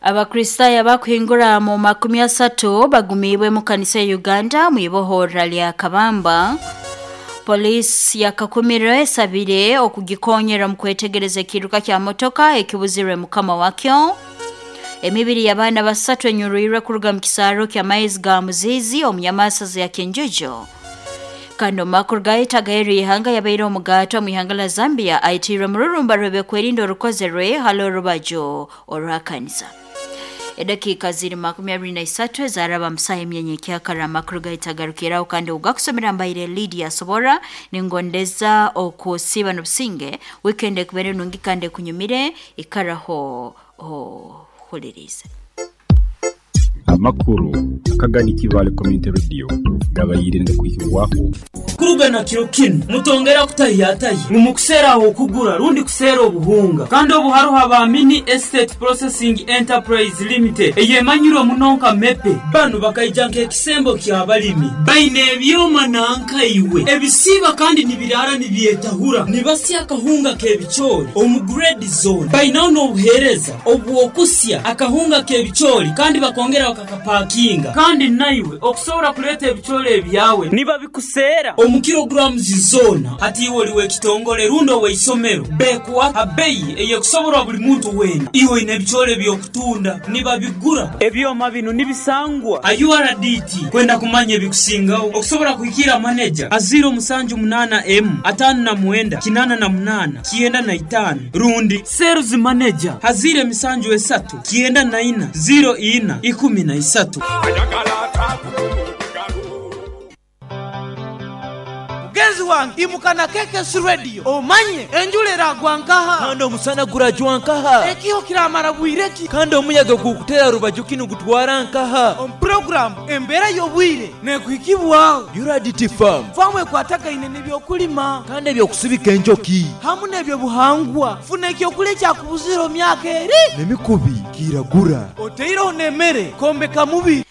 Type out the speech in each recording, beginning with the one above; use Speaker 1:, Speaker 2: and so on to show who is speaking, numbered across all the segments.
Speaker 1: Abakristaayo abakuhingura mu 30 bagumiibwe mu kanisa ya Uganda mu ibohorra lya Kabamba. Poliisi yakakumiro esabire okugikonyera mu kwetegereza ekiruka kya motoka ekibuzirwe mukama wakyo. Emibiri y'abaana 3 enyurwirwe kuruga mu kisaaro ky'amaizi ga Muzizi omu nyamasaza ya Kinjujo. Kandi omu makuru gahita ihanga yabaire omugato mu ihanga la Zambia aitiirwe mururumba rw'ebyokwerinda orukozerwe hali orubaju orwa kanisa. Edakiika ziri 23 ezaraba musaha emyenya ekyakara amakuru gahita agarukiraho kandi ogakusomera mbaire Lydia Sobora ningondeza okusiiba n'obusinge weekend ekubere nungi kandi ekunyumire ikaraho ohulirize.
Speaker 2: Amakuru akagani Kibale Community Radio gabayire kuhibwaho
Speaker 3: Kurugana kiro kinu mutongera kutahiyatahi ngu mukuseera aho okugura rundi kuseera obuhunga kandi obu haruho aba Mini Estate Processing Enterprise Limited eyemanyirwe muno nka MEPE. Banu bakaija nk'ekisembo ky'abalimi baine ebyoma nankaiwe ebisiiba kandi nibiraara nibyetahura nibasya akahunga k'ebicoori omu grade zone. Bainaho n'obuheereza obw'okusya akahunga k'ebicoori kandi bakongera bakakapakinga kandi naiwe okusobora kuleeta ebicoori ebyawe nibabikuseera omu kilograms zona. Hati iwe oli w'ekitongole rundi ow'eisomero bekuwa abeyi eyekusoborwa buli muntu weena. Iwe oine ebicoori eby'okutunda nibabigura. Ebyoma bino nibisangwa a URDT. Kwenda kumanya ebikusingaho okusobora kuhikira maneja a 078 M 59 88 95 rundi sales manager a 073 94 04 13.
Speaker 4: Mugenzi wange imuka na KKS Radio omanye enjura eragwa nkaha
Speaker 5: kandi omusana gurajwa nkaha
Speaker 4: ekiho kiramara bwireki
Speaker 5: kandi omuyaga gukutera rubaju kinu gutwara nkaha.
Speaker 4: Omu programu embeera y'obwire nekuhikibwaho
Speaker 5: URDT Farm
Speaker 4: famu ekwatagaine n'ebyokulima
Speaker 5: kandi ebyokusibika enjoki
Speaker 4: hamu n'ebyobuhangwa. Funa ekyokulya ekyakubuzire omu myaka eri
Speaker 5: n'emikubi kiragura
Speaker 4: oteireho n'emmere kombeka mubiri.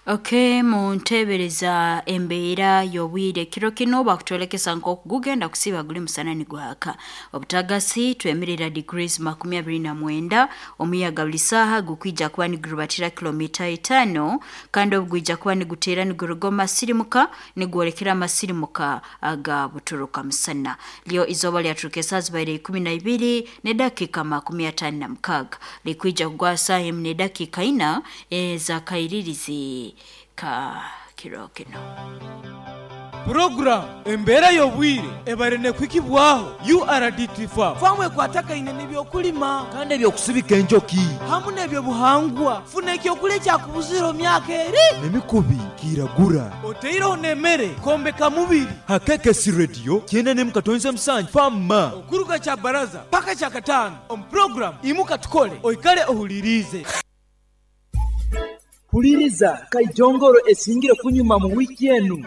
Speaker 1: Okay, muntebereza embeera y'obwire kiro kino bakutwolekesa nk'okugugenda kusiba guli musana nigwaka. Obutagasi twemerera degrees 29, omuyaga buli saaha gukwija kuba nigurubatira kilomita 5 kandi obugwija kuba niguteera niguruga omu masirimuka nigwolekera amasirimuka aga buturuka musana. Lyo izooba lyaturuka esaaha zibaire 12 n'edakiika 56 likwija kugwa saaha 1 n'edakiika 4 ez'akairirizi ka kiro kino.
Speaker 4: Program embeera y'obwire ebare nekuhikibwaho URDT Farm famu ekwatagaine n'ebyokulima
Speaker 5: kandi ebyokusibika enjoki
Speaker 4: hamu n'ebyobuhangwa. Funa ekyokulya ekyakubuzire omu myaka eri
Speaker 5: n'emikubi kiragura
Speaker 4: oteireho n'emmere kombeka mubiri.
Speaker 5: Ha KKS Radio 97.7 Fama
Speaker 4: okuruga kya baraza paka kya katano omu program imuka tukole oikale ohulirize.
Speaker 5: Huliriza Kaijongoro esingire kunyuma mu wiki enu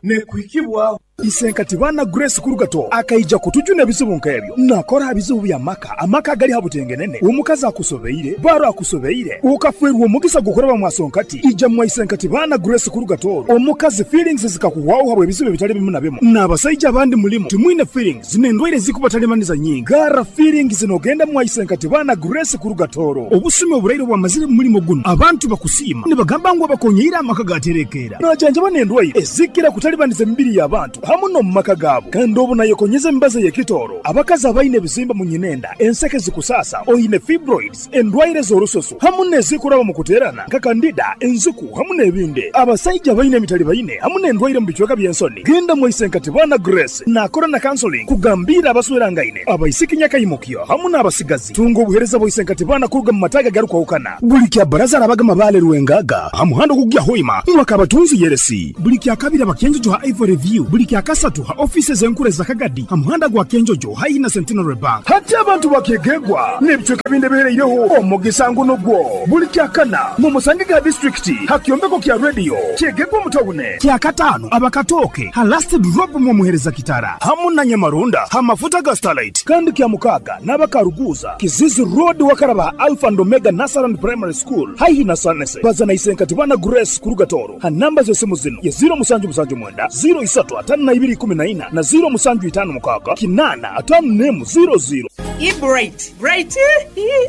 Speaker 4: nekuhikibwaho
Speaker 6: Isenkati bana Grace Kurugato akaija kutujuna ebizibu nk'ebyo nakora bizibu bya maka amaka agali habutengenene omukazi akusobeire baro akusobeire ukafwerwa omugisa gukoraba mwasonkati ija mwa Isenkati bana Grace Kurugato omukazi feelings zikakuwaho habwe ebizibu bitali bimu na bimu n'abasajja abandi mulimu timwine feelings n'endwaire zikubatalimanyiza nyingi gara feelings nogenda mwa Isenkati bana Grace Kurugatoro obusumi oburaire bwamazire mu mulimo guno abantu bakusiima nibagamba ngu abakonyeire amaka gaterekera najanjaba n'endwaire ezikira kutalibaniza emibiri y'abantu hamu no mu maka gaabo kandi obu nayekonyeza emibazi ey'ekitooro abakazi abaine ebizimba mu nyinenda enseke zikusasa oine fibroids endwaire z'orususu hamu n'ezikuraba mu kuteerana nka kandida enziku hamu n'ebindi abasajja baine emitali baine hamu n'endwaire mu bicweka by'ensoni genda mwisenkati bana Grace nakora na counseling kugambira abaswerangaine abaisiki nyakaimukyo hamu n'abasigazi tunga obuhereza bw'isenkati bana kuruga mu mataga garukwahukana buli kya baraza arabaga mabale rwengaga hamuhando kugya hoima mwakabatunzi yeresi buli kya kabiri abakenjojo ha Ivory View buli kya kasatu ha offices enkuru za Kagadi hamuhanda gwa Kenjojo haina Centenary Bank hati abantu bakegegwa n'ebicweka bindi bihereireho omugisa nguno gwo buli kya kana mu musange ga district hakyombeko kya radio kyegegwa mutawune kya katano abakatoke ha last drop mu muhereza kitara hamu na Nyamarunda ha mafuta ga Starlight kandi kya mukaga n'abakaruguza Kizizi Road wakaraba Alpha and Omega Nasaran Primary School haihi na Sanese bazana Isenkati bana Grace Kurugatoro ha namba z'esimu zino ya 0779 03 52 14 na 0756 8 5 00.
Speaker 7: Bright, Bright,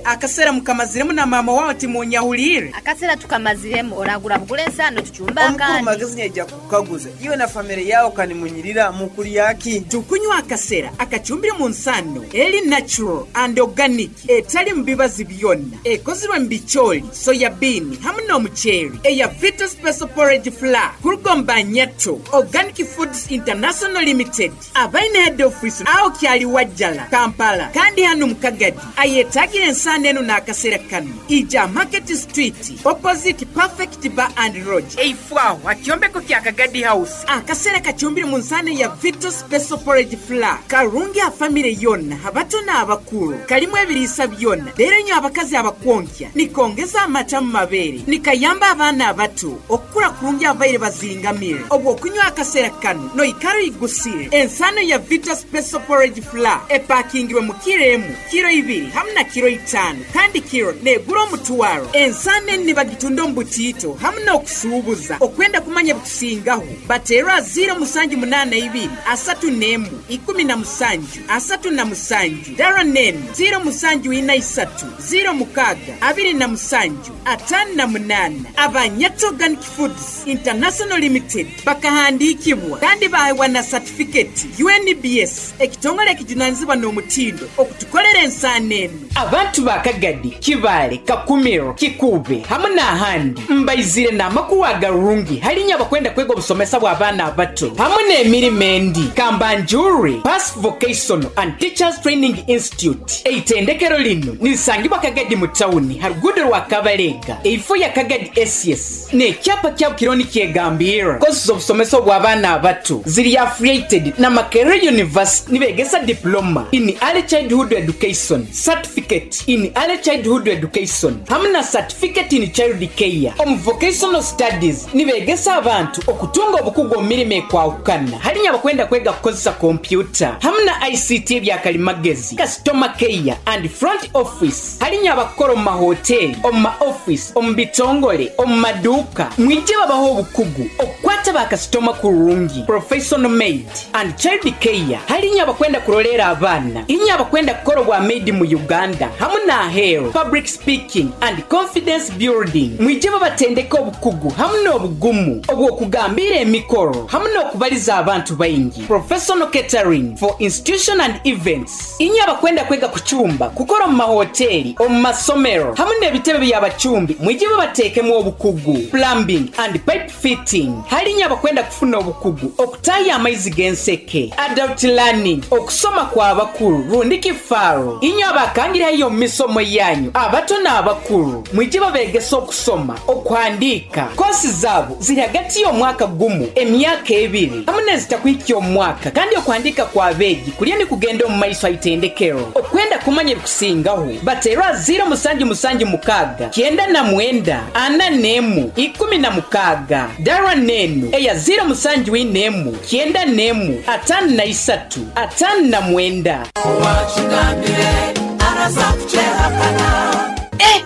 Speaker 7: akasera mukamaziremu na mama wawe timunyahuliire.
Speaker 8: Akasera tukamaziremu oragura bugura ensano tucumba
Speaker 9: Omukuru
Speaker 8: akandi.
Speaker 9: Magezi nyaija kukaguza iwe na famire yawe kanimunyirira mukulyaki?
Speaker 7: Tukunywa akasera akacumbire mu nsano eri natural and organic, etali mu bibazi byonna, ekozirwe mu bicooli, soya bean hamu n'omuceeri, eya Vita Special Porridge Flour kuruga Nyato Organic Foods International Limited, abaine head office aho kyali Wajjala, Kampala, kandi hano mu Kagadi. Ayetagira ensano eno n'akasera kano, ija Market Street opposite Perfect Bar and Lodge, eifwaho akyombeko kya Kagadi House. Akasera kacumbire mu nsano ya Vita Special Porridge Flour karungi a famire yonna, abato n'abakulu, kalimu ebiriisa byonna. Leero nyo abakazi abakwonkya nikongeza amata mu mabeere, nikayamba abaana abato okukula kurungi abaire bazingamire. Obwo okunywa akasera kano noikara oyigusire. Ensano ya Vita Special Porridge Flour epakingirwe mu kiro emu, kiro ibiri hamu na kiro 5, kandi kiro negura omutwaro. Ensano eni nibagitunda omu butiito hamu n'okusuubuza. Okwenda kumanya bikusingaho bateerwa 0782 31 17 37, dara nenu 0743 06 27 58. Abanyato Organic Foods International Limited bakahandikibwa kandi baheebwa na satifiketi UNBS, ekitongole ekijunanizibwa n'omutindo okutukolera ensaano eno. Abantu ba Kagadi, Kibaale, Kakumiro, Kikuube hamu n'ahandi mbaizire n'amakuru agarungi halinya abakwenda kwega obusomesa bw'abaana abato hamu n'emirimo endi. Kambanjure Pass Vocational and Teachers Training Institute, eitendekero lino nirisangibwa Kagadi mu tawuni ha ruguudo rwa Kabalega, eifo ya Kagadi SS, n'ekyapa kyabo kiriho nikyegambirra. Kosi z'obusomesa obw'abaana abato ziri affiliated na Makerere University, nibegesa diploma in early childhood education, certificate in early childhood education hamu na certificate in child care. Omu vocational studies nibegesa abantu okutunga obukugu omu mirimo ekwahukana, halinya abakwenda kwega kukozesa kompyuta hamu na ICT ebyakalimagezi, customer care and front office, halinya abakukora omu mahoteri, omu ma office, omu bitongole, omu maduuka, mwije babaho obukugu okukwata bakasitoma kurungi. Professional maid and child care, halinya abakwenda kurolera abaana, inya abakwenda kukora obwa maid mu Uganda hamu n'aheeru. Public speaking and confidence building, mwije babatendeka obukugu hamu n'obugumu obw'okugambira emikoro hamu n'okubaliza abantu baingi. Professional catering for institution and events, inya abakwenda kwega kucumba, kukora omu mahoteri, omu masomero hamu n'ebitebe by'abacumbi, mwije babateekemu obukugu. Plumbing and pipe fitting, halinya abakwenda kufuna obukugu okutaya amaizi g'enseke. Adult learning, okusoma kw'abakulu rundi kifaaro, inywe abakangirayo omu misomo yanyu abato n'abakulu, mwije babegesa okusoma, okuhandiika. Kosi zaabo ziri hagati y'omwaka gumu, emyaka ebiri hamu n'ezitakuhikya omwaka, kandi okuhandiika kw'abeegi kulya nikugenda omu maiso aitendekero. Okwenda kumanya ebikusingaho bateerwa 0776 99 41 16, dara nenu eya 0741 91 53 59.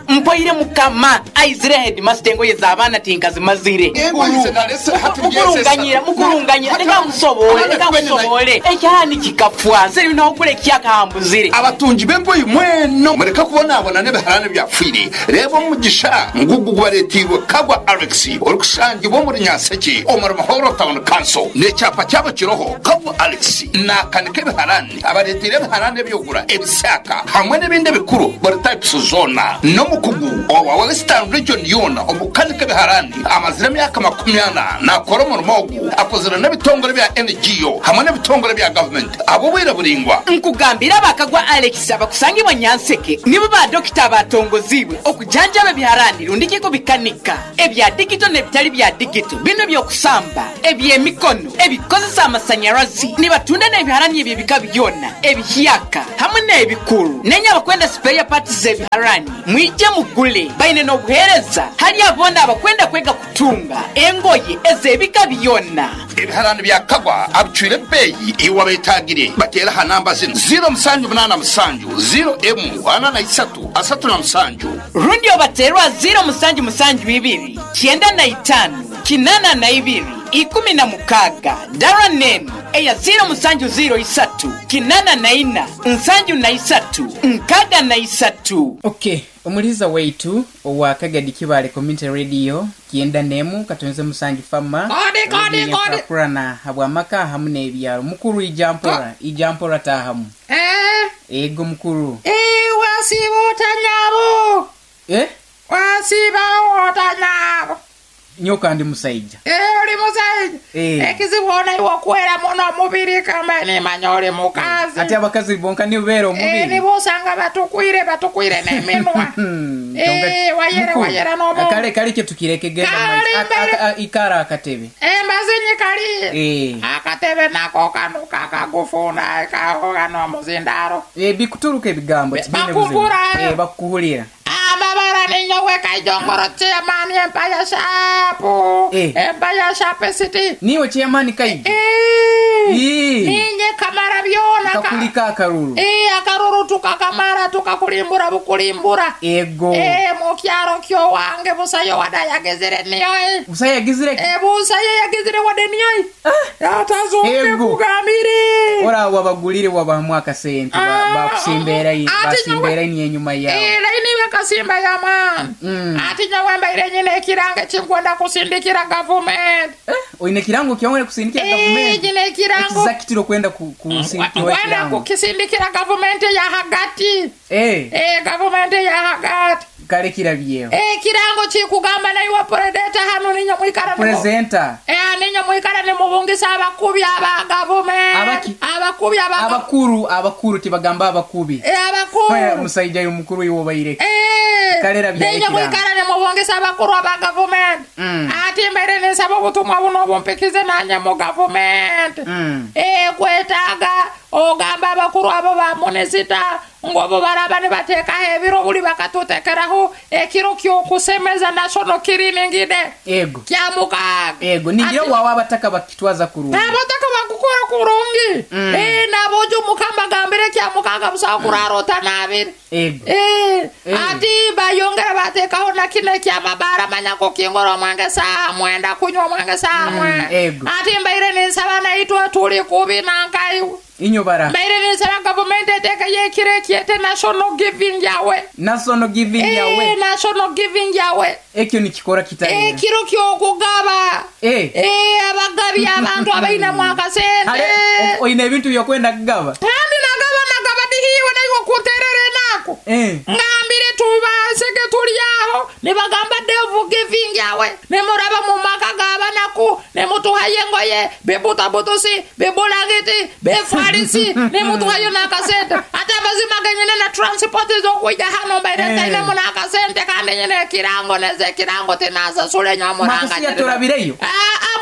Speaker 7: Mpoire mukama aizire headmaster engoye z'abaana tinkazimazire. Mukurunganyira, mukurunganyira, reka nkusobole, reka nkusobole. Ekyahani kikafwa nse nokugura ekyakahambuzire.
Speaker 10: Abatungi b'engoyi mweno mureka kubonabona n'ebiharani byafwire. Reba omugisha ngugu gubaretirwe Kagwa Alex orikusangibwa omuri Nyanseke omuri Mahoro Town Council, n'ekyapa kyabo kiroho Kagwa Alex nakanika ebiharani, abaretire ebiharani ebyogura ebisaka hamwe n'ebindi ebikuru buri types zona, n'omukugu owa Western Region yona omukanika ebiharani amazire emyaka 40 nakora omurimo ogu, akozire n'ebitongore bya NGO hamwe n'ebitongore bya government abo bwire buringwa.
Speaker 7: Nkugambira abakagwa Alex abakusangibwa Nyanseke nibo ba dokita batongozibwe okujanjaba ebiharani rundi kiko bikanika ebya digito n'ebitali bya digito, bino by'okusamba, eby'emikono, ebikozesa amasanyarazi, nibatunda n'ebiharani eby'ebika byona ebihyaka hamwe n'ebikuru. Nenya abakwenda spare parts z'ebiharani mwije mugule, baine n'obuheereza hali abona abakwenda kwega kutunga engoye ez'ebika byona.
Speaker 10: Ebiharani bya Kagwa abicwire ebbeeyi iwe abetagire batera ha namba zino 0787 0M 43 37,
Speaker 7: rundi obaterwa 0772 95 82 16, dara nenu Eya 0703 84 73 63.
Speaker 11: Okay, omuliza waitu owa Kagadi Kibale Community Radio kienda nemu katonze musangi fama
Speaker 12: Kodi, kodi, kodi.
Speaker 11: Kurana habwamaka hamu n'ebyalo mukuru ijampora tahamu. Ego mukuru.
Speaker 12: Wasiba otanyabo. Wasiba otanyabo.
Speaker 11: Nyoka ndi musaija.
Speaker 12: Oli musaija. Ekizibu ona iwe okwera muno omubiri kamba nimanya oli mukazi.
Speaker 11: Ate abakazi bonka nibeera omubiri.
Speaker 12: Nibosanga batukwire n'eminwa. Wayera n'omu.
Speaker 11: Kale kye tukireke genda maiso. Ikara akatebe.
Speaker 12: Mbazinyi kali. Akatebe nako kano kakagufuna kako kano muzindaro.
Speaker 11: Bikuturuka ebigambo tibine buzibu. Bakukuhulira.
Speaker 12: Amabara ninyowe Kaijongoro chairman Empire Sharp. Empire Sharp City.
Speaker 11: Niwe chairman Kaijo.
Speaker 12: Ninye kamara byona
Speaker 11: kakulika akaruru.
Speaker 12: Akaruru tukakamara tukakulimbura bukulimbura.
Speaker 11: Ego.
Speaker 12: Mu kyaro kyo wange busayo wadayagezere niyo.
Speaker 11: Busayo yagezere?
Speaker 12: Busayo yagezere wade niyo. Atazonge kugamire.
Speaker 11: Ora wabagulire wabahamu akasente bakusimbera basimbera ni enyuma yawe.
Speaker 12: Laini bakasimba ya man. Ati nyawemba ile nyine ekirango kinkwenda kusindikira government.
Speaker 11: Oine kirango kyongere kusindikira government.
Speaker 12: Nyine ekirango.
Speaker 11: Exactly kwenda kusindikira
Speaker 12: kirango. Kukisindikira government ya hagati. Government ya hagati.
Speaker 11: Kale kirabyeho.
Speaker 12: Kirango kikugamba nayo predator hano ninyo mwikara
Speaker 11: presenter.
Speaker 12: Ninyo mwikara ne mubungisa abakubi aba government. Abakubi aba
Speaker 11: abakuru tibagamba abakubi.
Speaker 12: Abakuru.
Speaker 11: Musaija yo mukuru iwo bayireke. Kalera bya
Speaker 12: ninyo mwikara ne mubungisa abakuru aba government. Ati mbere nisaba obutumwa buno bumpikize nanye mu government. Kwetaga ogamba abakuru abo ba munisita ngobo baraba ne bateka ebiro buli bakatutekeraho ekiro kyokusemeza national cleaning day.
Speaker 11: Ego.
Speaker 12: Kyamukaga.
Speaker 11: Ego ningire wawa abataka bakitwaza kurungi.
Speaker 12: Abataka bakukora kurungi. Nabojo mukamba gambire kyamukaga busa kurarota nabiri.
Speaker 11: Ego.
Speaker 12: Ati bayongera batekaho na kine kya mabara manyako kingoro mwange saa mwenda kunywa mwange saa mwenda.
Speaker 11: Ego.
Speaker 12: Ati mbaire nisaba naitwa tuli kubi nankai.
Speaker 11: Inyo bara.
Speaker 12: Mbaire nisaba government eteka yekire kiete national giving yawe.
Speaker 11: National giving yawe.
Speaker 12: National giving yawe.
Speaker 11: Ekyo ni kikora kitali.
Speaker 12: Kiro kyokugaba. Abagabi abantu abaina mwaka sente.
Speaker 11: Oine ebintu byokwenda kugaba.
Speaker 12: Kandi nagaba dihiwe nayo kuterere nako. Ngambire tubaseke tulyaho nibagamba devil giving yawe. Nemuraba mu maka gaba naku nemutuhaye ngoye bebutabutusi bebulangiti befarisi nemutuhayo nakasente. Ate abazima genyene na transport zokuja hano mbaire taine munakasente kandi nyene kirango neze kirango tinasasule nyamuranga.
Speaker 11: Mwakasiya turabireyo.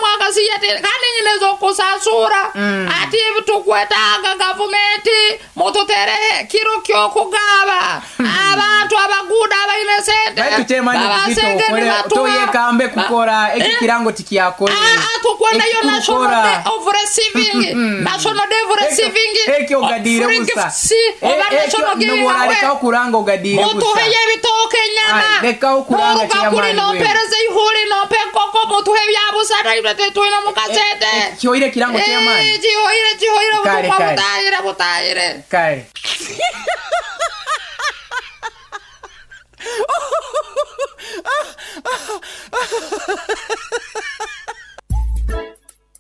Speaker 12: Mwakasiya kandi nyene zokusasura. Ati tukwetaga gavumenti mututerehe kiro kyokugaba. Abantu abaguda abaine sente.
Speaker 11: Baitu chairman kizito toyekambe kukora eki kirango tikiyakore.
Speaker 12: Tukwenda yo national day of receiving. National day of receiving.
Speaker 11: Ekyo ogadire busa.
Speaker 12: Oba national giving
Speaker 11: awe. Leka okuranga ogadire busa.
Speaker 12: Mutuheye ebitoke nyama.
Speaker 11: Leka okuranga chairman.
Speaker 12: Nompereze ihuli nompe nkoko mutuhe byabusa na ibyo tuina mukasete.
Speaker 11: Kihoire kirango chairman.
Speaker 12: Kihoire butumwa butayire.
Speaker 11: Kare.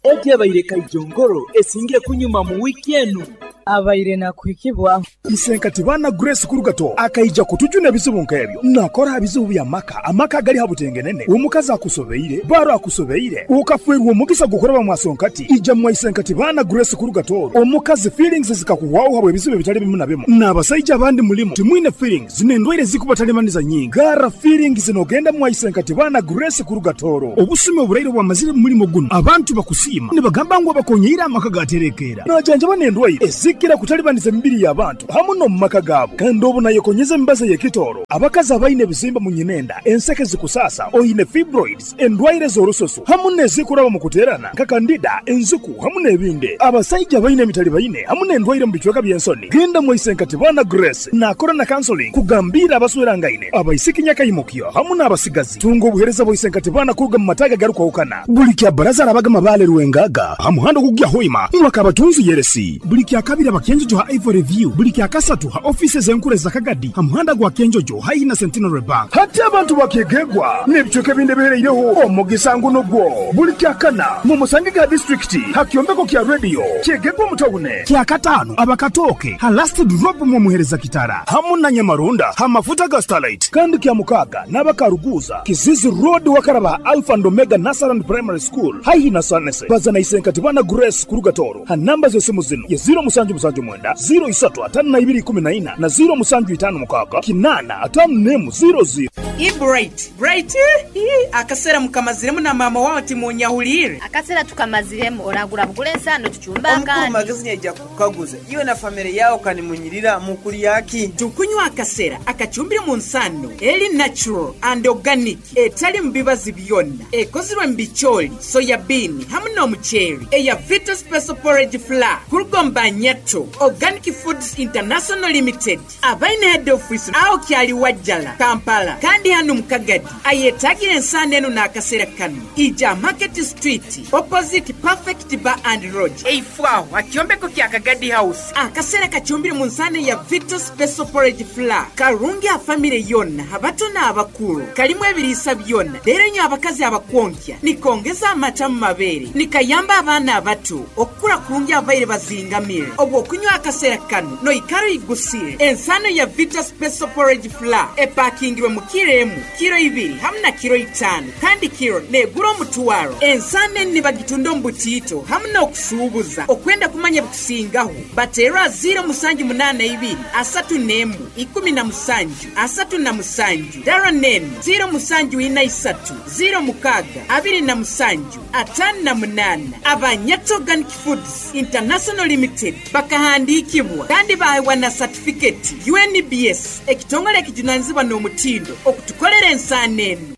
Speaker 5: Egi abaire Kaijongoro esingire kunyuma mu wiki enu.
Speaker 13: Abaire na kuhikibwa.
Speaker 6: Isenkati bana Grace Kurugato akaija kutujuna ebizibu nkebyo. Nakora ebizibu bya maka, amaka gali habutengenene. Omukazi akusobeire, baro akusobeire. Ukafwerwa omugisa gukoraba mwasonkati. Ija mwa Isenkati bana Grace Kurugato. Omukazi feelings zikakuwaho habwe ebizibu bitali bimu na bimu. N'abasajja abandi mulimu timwine feelings n'endwaire zikubatalemaniza nyingi. Gara feelings nogenda mwa Isenkati bana Grace Kurugatoro. Obusime oburaire bwamazire mulimo guno. Abantu bakusiima nibagamba ngu abakonyeire amaka gaterekera. Najanjaba n'endwaire ezikira kutalibaniza emibiri y'abantu. hamu n'omu maka gaabo. Kandi obu nayekonyeza emibazi ey'ekitooro, abakazi abaine ebizimba mu nyinenda, enseke zikusaasa, oine fibroids, endwaire z'orususu hamu n'ezikuraba mu kuteerana nka kandida, enziku hamu n'ebindi. Abasaija abaine emitalibaine hamu n'endwaire mu bicweka by'ensoni, genda mwaisenkati Baana Grace naakora na counseling kugambiira abaswerangaine, abaisiki nyakaimukyo hamu n'abasigazi. Tunga obuheereza bwa isenkati Baana kuruga mu mataaga agarukwahukana. Buli kya Baraza arabaga Mabaale Rwengaga ha muhanda ogukugya Hoima mwaka abatunzi Yeresi. Buli kya kabiri Abakenjojo ha Ivory View. Buli kya kasatu ha ofiisi ez'enkuru eza Kagadi ha muhanda gwa Kenjojo haihi na Centenary Bank. Hati abantu bakyegegwa n'ebicweka ebindi ebihereireho omugisa ngu nugwo. Buli kya kana mumusangege ha disitulikiti ha kyombeko kya rediyo kyegegwa omu tawune. Kya kataano Abakatooke ha Last Drop mwomuhereza Kitara hamu na Nyamarunda ha mafuta ga Starlight. Kandi kya mukaaga n'Abakaruguuza Kizizi Road wakaraba ha Alpha and Omega Nursery and Primary School haihi na Sanese. Baza na Isenkati Bana Grace kuruga Tooro ha namba z'esimu zinu ye 0779 0352 14 na 0756 851 00.
Speaker 7: Ii Bright, Bright ii akaseera mukamaziremu na maama wawe timunyahuliire.
Speaker 8: Akaseera tukamaziremu oragura bugura ensaano tucumbe
Speaker 9: Omukuru
Speaker 8: akandi.
Speaker 9: Magezi nyaija kukukaguza iwe na famire yawe kanimunyirira mukulyaki?
Speaker 7: Tukunywa akasera akacumbire mu nsano eri natural and organic etali mu bibazi byonna ekozirwe mu bicooli, soya bean hamu n'omuceeri eya Vita Special Porridge Flour kuruga omu Banyato Organic Foods International Limited abaine head office aho kyali Wajjala, Kampala kandi hanu mu Kagadi ayetagire ensaano enu n'akasera kanu ija Market Street opposite Perfect Bar and Lodge eifo aho ha kyombeko kya Kagadi House. Akasera kacumbire mu nsano ya Vita Special Porridge Flour karungi ha famire yonna abato n'abakuru kalimu ebiriisa byonna leero nyo abakazi abakwonkya nikongeza amata mu mabeere nikayamba abaana abato okukura kurungi abaire bazingamire. Obw'okunywa akasera kanu noikara oigusire. Ensano ya Vita Special Porridge Flour epakingirwe mu kiro emu, kiro ibiri hamu na kiro itaano kandi kiro negura omutwaro. Ensano enu nibagitunda omu butiito hamu n'okusuubuza. Okwenda kumanya ebikusingaho bateerwa 0782 31 17 37 dara nenu 0743 06 27 58. Abanyato Organic Foods International Limited bakahandiikibwa kandi baheebwa na satifiketi UNBS ekitongole ekijunanizibwa n'omutindo okutukolera ensaano enu.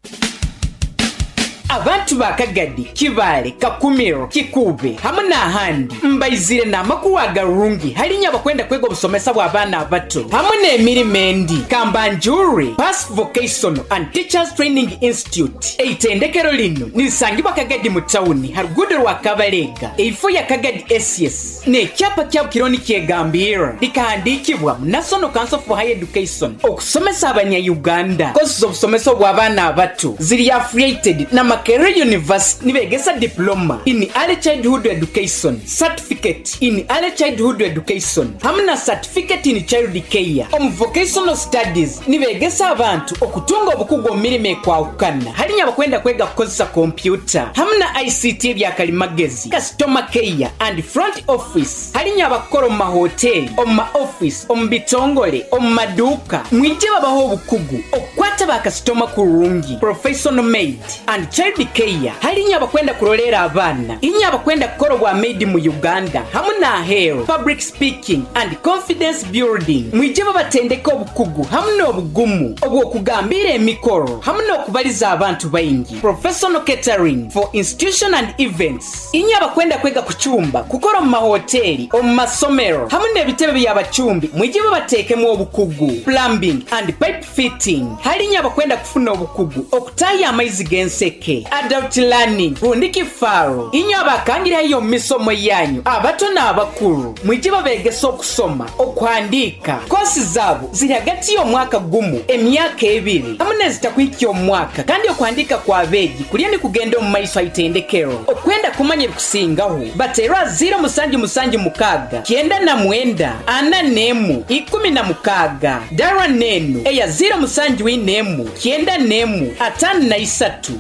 Speaker 7: Abantu ba Kagadi, Kibaale, Kakumiro, Kikuube hamu n'ahandi mbaizire n'amakuru agarungi hali inywe abakwenda kwega obusomesa bw'abaana abato hamu n'emirimo endi. Kambanjure Pass Vocational and Teachers Training Institute. Eitendekero linu nirisangibwa Kagadi mu tawuni ha ruguudo rwa Kabalega eifo ya Kagadi SS n'ekyapa kyabo kiriho nikyegambirra likahandiikibwa mu National Council for Higher Education okusomesa abanya-Uganda. Kosi z'obusomesa obw'abaana abato ziri affiliated na Makerere University nibegesa Diploma in Early Childhood Education, Certificate in Early Childhood Education hamu na Certificate in Child Care. Omu Vocational Studies nibegesa abantu okutunga obukugu omu mirimo ekwahukana hali inywe abakwenda kwega kukozesa kompyuta hamu na ICT ebyakalimagezi, Customer Care and Front Office hali inywe abakukora omu mahoteri, omu ma office, omu bitongole, omu maduuka mwije babaho obukugu okukwata ba kasitoma kurungi, Professional Maid and Child Care hali inywe abakwenda kurolera abaana, inywe abakwenda kukora obwa maid mu Uganda hamu n'aheeru, Public Speaking and Confidence Building mwije babatendeke obukugu hamu n'obugumu obw'okugambira emikoro hamu n'okubaliza abantu baingi, Professional Catering for Institution and Events inywe abakwenda kwega kucumba, kukora omu mahoteri, omu masomero hamu n'ebitebe by'abacumbi mwije babateekemu obukugu, Plumbing and Pipe Fitting hali inywe abakwenda kufuna obukugu okutaaha amaizi g'enseke, Adult Learning rundi kifaaro inywe abakangirayo omu misomo yanyu abato n'abakuru mwije babegesa okusoma, okuhandiika. Kosi zaabo ziri hagati y'omwaka gumu, emyaka ebiri hamu n'ezitakuhikya omwaka kandi okuhandiika kw'abeegi kuriyo nikugenda omu maiso ha itendekero. Okwenda kumanya ebikusingaho bateerwa 0776 99 41 16 dara nenu eya 0741 91 53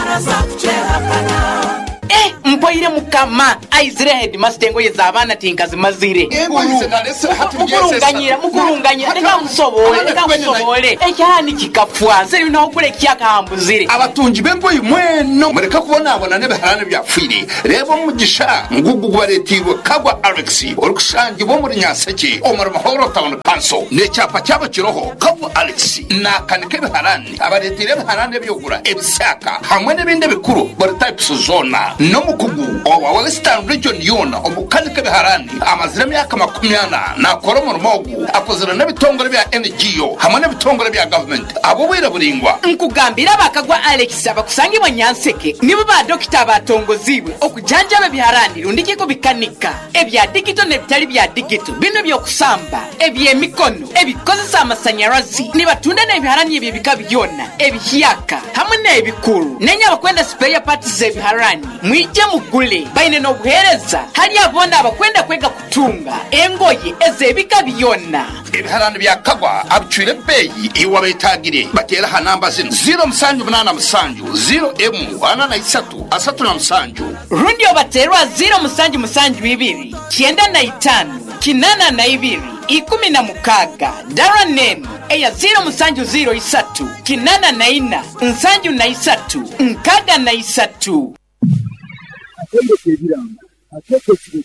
Speaker 7: 59. Eh, Mpoire mukama aizire headmaster engoye z'abaana tinkazimazire.
Speaker 10: Engoye ze nalesere hati
Speaker 7: Mukurunganyira, mukurunganyira, leka nkusoboole, leka nkusoboole. Ekyalani kikafwa, nze n'ogula ekihyaka hambuzire.
Speaker 10: Abatungi b'engoyi mweno mureke kubonabona n'ebiharani ebyafwire. Reeba omugisha ngugu gubareeteirwe Kagwa Alex orikushangibwa omuri Nyanseke omuri Muhorro Town Council. N'ekyapa kyabo kiroho Kagwa Alex naakanika ebiharani, abareeteire ebiharani ebyogura, ebisyaka hamwe n'ebindi ebikuru buri types zoona. N'omukugu owa Western Region yoona omu kukanika ebiharani. Amazire emyaka 40 naakora omurimo ogu. Akozire n'ebitongore bya NGO hamwe n'ebitongore bya gavumenti ahabw'obwire buraingwa.
Speaker 7: Nkugambire aba Kagwa Alex abakusangibwa Nyanseke nibo ba dokita abatongoziibwe okujanjaba ebiharani rundi ki kubikanika, ebya digito n'ebitali bya digito, binu eby'okusamba, eby'emikono, ebikozesa amasanyarazi. Nibatunda n'ebiharani eby'ebika byona, ebihyaka hamwe n'ebikuru. Nenye abakwenda sipeya paati z'ebiharani, mwije mugule. Baine n'obuheereza hali abo boona abakwenda kwega kutunga engoye ez'ebika byona.
Speaker 10: Ebiharani bya Kagwa abicwire ebeeyi iwe abeetaagire bateere aha namba zinu, ziiro musanju munaana musanju, ziiro emu, ana na isatu, asatu na musanju.
Speaker 7: Rundi obateerwa ziiro musanju musanju ibiri, 95, 82, 16. Dara n'enu eya ziiro musanju ziiro isatu, 84, 73, 63.
Speaker 6: Akaire k'ebirango akeekesire.